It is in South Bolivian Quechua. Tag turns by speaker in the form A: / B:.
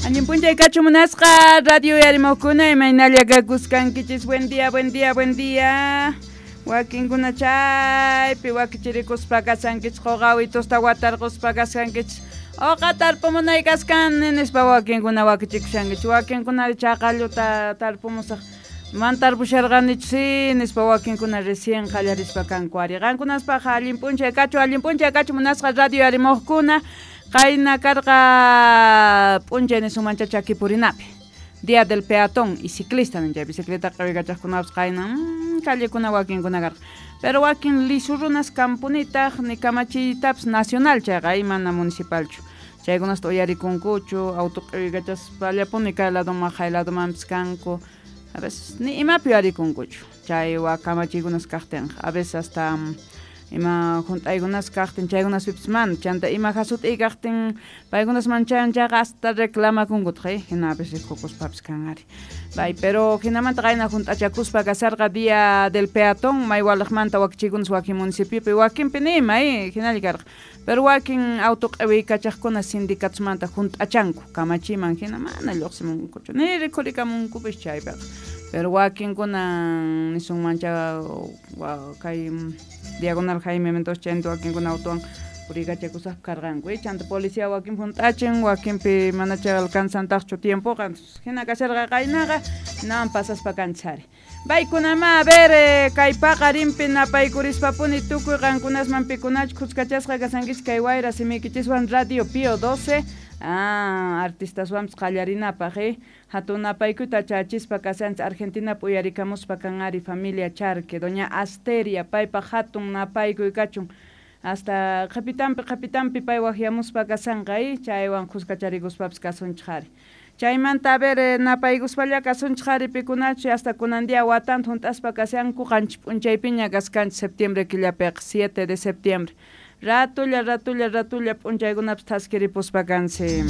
A: Allin p'unchay kachu munasqa radio uyarimojkuna, imaynalla kakuskankichis. Buen día, buen día, buen día. Wakinkuna chaypi wakichirikuspa kashankichis, qoqawitusta watarquspa kashankichis. Oqa tarpumunay kaskan nispa wakinkuna wakichikushankichis. Wakinkuna chaqalluta tarpumusaq. Man tarpusharqanichu sí nispa wakinkuna recién qallarispa kanku ari. Qankunaspaq allin p'unchay kachu, allin p'unchay kachu munasqa radio uyarimojkuna. Qayna karqa p'unchay nisunmancha chaki purinapi. Día del peatón y ciclista nin chay bicicleta q'iwikachaqkunapas qayna callekuna wakinkuna karqa. Pero wakin lisu runas kampunitaq ni kamachiytapas nacional chayqa mana municipalchu. Chaykunasta uyarikunkuchu, auto q'iwikachaspallapuni kay ladoman jay ladomanpis kanku. A veces ni imapi uyarikunkuchu. Chay wa kamachiykunas kaqtinqa. A veces hasta ima junt'aykunas kaqtin chaykunaspipis mana, chanta ima jasut'iy kaqtin paykunas manchan chayqa hasta reclamakunkutaq, hina a veces rikukuspapis kan ari. Bay, pero hinamanta qayna junt'achakuspa kasarqa día del peatón, may walaqmanta wakichikunas wakin municipiopi, wakinpi nima, hinalla karqa. Pero wakin auto q'iwiykachaqkuna sindicatosmanta junt'achanku kamachiman hina mana lluqsimunkuchu, ni rikhurikamunkupis chaypiqa. Pero wakinkuna nisunmancha kay diagonal Jaime Mendoza chayta wakinkuna autowan puriykachakusaqpi karqanku, chanta policía wakinpi junt'achin, wakinpi manacha alcanzantaqchu tiempoqa, hina kasharqa qaynaqa, hinawan pasaspa kanchis ari. Baykunama, a ver, kay paqarinpi napaykurishpapuni tukuy qankunasman pikunachu khuskachasqa kasankichis kay wayra simiykichiswan Radio Pío 12, artistaswanpis qallarinapaq, hatun napaykuyta chachispa kashanchis Argentinap uyarikamuspa kan ari familia Charque, doña Asteria, paypaq hatun napaykuy kachun. Hasta qhipitampi pay waqyamuspa kashanqa, chaywan khuskacharikuspapis kasunchik ari. Chaymanta a ver, napaykuspalla kasunchik ari pikunachu hasta kunan día watanta junt'aspa kashanku qanchis p'unchaypiña kaskanchis septiembre killapiqa, 7 de septiembre. Ratulla, ratulla, ratulla p'unchaykunapis thaskiripuspa kansi.